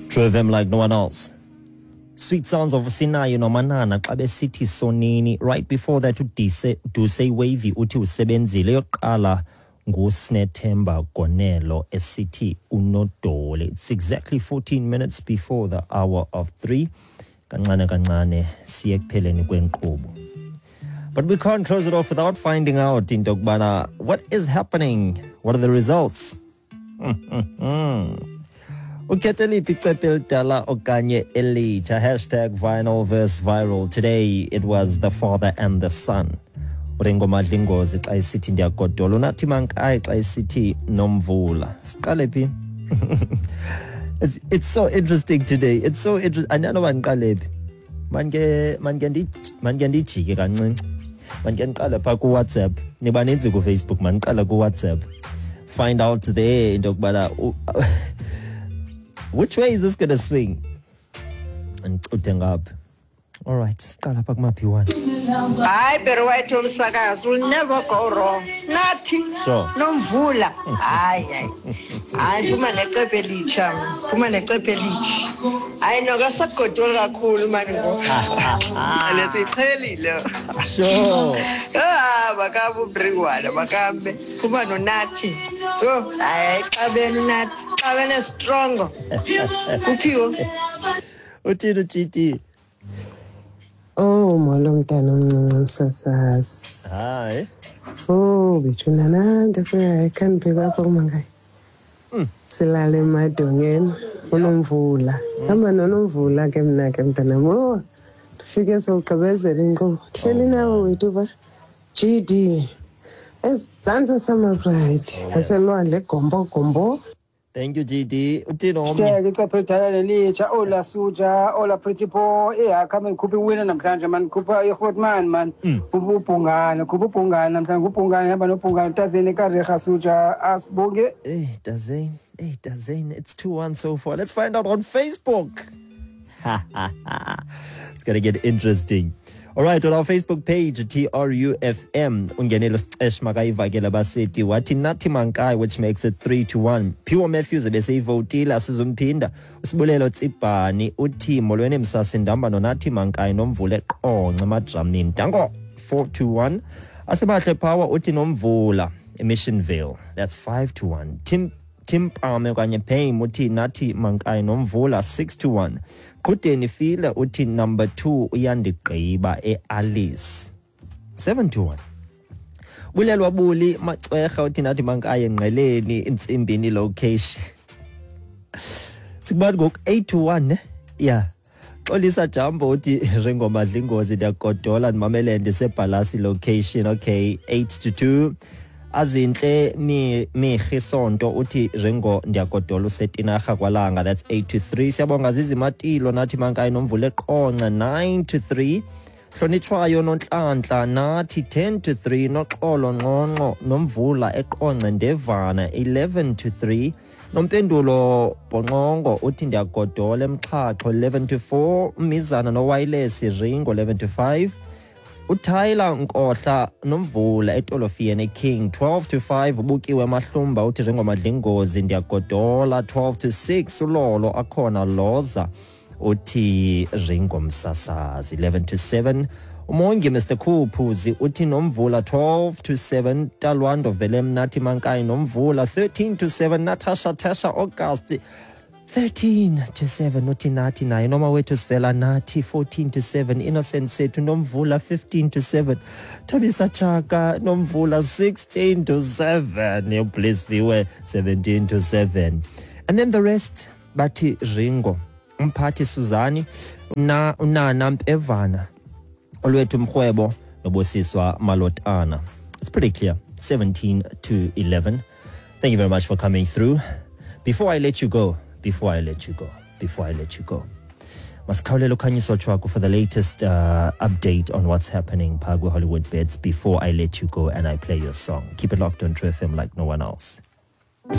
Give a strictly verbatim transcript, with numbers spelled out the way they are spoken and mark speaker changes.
Speaker 1: Drove him like no one else. Sweet sounds of Sinayo noManana xa besithi "Sonini". Right before that, uDise Duse Wavy uthi usebenzile. Yokuqala nguSnethemba Gonelo esithi "Unodoli". It's exactly fourteen minutes before the hour of three. Kancane kancane siye ekupheleni kwenkqubo. But we can't close it off without finding out into yokubana what is happening? What are the results? Ukhethe liphi, icephe elidala okanye elitsha? Hashtag vinyl versus viral. Today it was the father and the son. Uringo Madlingozi xa esithi "Ndiyagodola", uNathi Mankayi xa esithi "Nomvula". Siqale phi? it's, it's so interesting today. It's so interesting. Andinoba ndiqale phi. Manke manke manke ndijike kancinci. Manke ndiqale phaa kuWhatsApp. Nibaninzi kuFacebook, mandiqale kuWhatsApp. Find out there into yokubana which way is this gonna swing? Andicuthe ngapha. All right, siqala apha kumaphi one.
Speaker 2: Hayi, Barry White womsakazo will never go wrong. Nathi
Speaker 1: Sure.
Speaker 2: Nomvula. Hayi, hayi. Hayi, phuma necephe elitsha. Phuma necephe elitsha. Hayi, noka sagodoli kakhulu mani ngoku. Lesiqhelile.
Speaker 1: Sure.
Speaker 2: Ah, makabe uBringwana, makambe. Phuma noNathi. Yho, hayi, xabene uNathi. Xabene strong. Uphiwo.
Speaker 1: Uthini u-G D?
Speaker 3: Oh, molo mntana omncinci msasazi.
Speaker 1: Hayi.
Speaker 3: Oh, bethuna nami sekhanibheka apha kumangayi. Silale emadongeni uNomvula. Hamba noNomvula ke mna ke mntanam. Oh, ndifike sowugqibezela inkqubo. Hleli nawe wethu ba. G D. Ezantsi Summer Bright. Aselwandle gombo gombo.
Speaker 1: Thank you, G D. Uthini omnye?
Speaker 4: Hleke icephe elidala nelitsha. Ola suja, ola pretty boy, ehakha man, khupha iwina namhlanje man, khupha iGrootman man, ubhungane, khupha ubhungane namhlanje, ubhungane hamba nobhungane tazeni kareha suja asibonge.
Speaker 1: Hey, Dazane. Hey, Dazane. It's two one so far. Let's find out on Facebook. It's going to get interesting. All right, on our Facebook page, T R U F M, ungenelo sicesh makayivakele basithi wathi Nathi Mankayi, which makes it three to one. Pure Matthews ebeseyivotile, asizumphinda. Usibulelo Tsibhani uthi molweni msasi, ndihamba noNathi Mankayi noMvula eQonce emadramini. Danko, four to one. Asibahle Power uthi Nomvula eMissionvale. That's five to one. Tim Tim Pame okanye Payne uthi Nathi Mankayi Nomvula, six to one. Qhudeni File uthi number two uyandigqiba eAlice, seven to one. Bulelwa Buli Macwerha uthi Nathi Mankayi eNgqeleni Intsimbini location. Sikubani ngoku, eight to one ne? Yeah. Xolisa Jambo uthi Ringo Madlingozi, ndiyagodola, ndimamele ndisebhalasi location. Okay, eight to two. Azinhle mi Mihi Sonto uthi Ringo, ndiyagodola, usetinarha kwalanga. That's eight to three. Siyabonga Zizimatilo, Nathi Mankayi Nomvula eQonce, nine to three. Hlonitshwayo Nonhlanhla, Nathi, ten to three. Noxolo Nqonqo, Nomvula eQonce Ndevana, eleven to three. Nompendulo Bhonqongo uthi ndiyagodola eMxhaxho, eleven to four. Umizana noWireless Ringo, eleven to five. UTyler Nkohla, Nomvula eTolofiyeni King, twelve to five. Ubukiwe Mahlumba uthi Ringo Madlingozi, ndiyagodola, twelve to six. Ulolo akhona Loza uthi Ringo Msasazi, eleven to seven. Umongi Mister Khuphuzi uthi Nomvula, twelve to seven. Talwando Velem, Nathi Mankayi Nomvula, thirteen to seven. Natasha Tasha August, thirteen to seven. Uthi Nathi naye. Noma wethu sivela, Nathi, fourteen to seven. Innocent Sethu, Nomvula, fifteen to seven. Thabisa Chaka, Nomvula, sixteen to seven. Your Bliss Viewer, seventeen to seven. And then the rest bathi Ringo. Umphathi Suzani una unana Mpevana, Olwethu Mrhwebo nobosiswa Malotana. It's pretty clear, seventeen to eleven. Thank you very much for coming through. Before I let you go, before I let you go, before I let you go, masikhawulele ukhanyiso Chwaku for the latest uh, update on what's happening phaa Hollywood Bets before I let you go and I play your song. Keep it locked on True F M like no one else.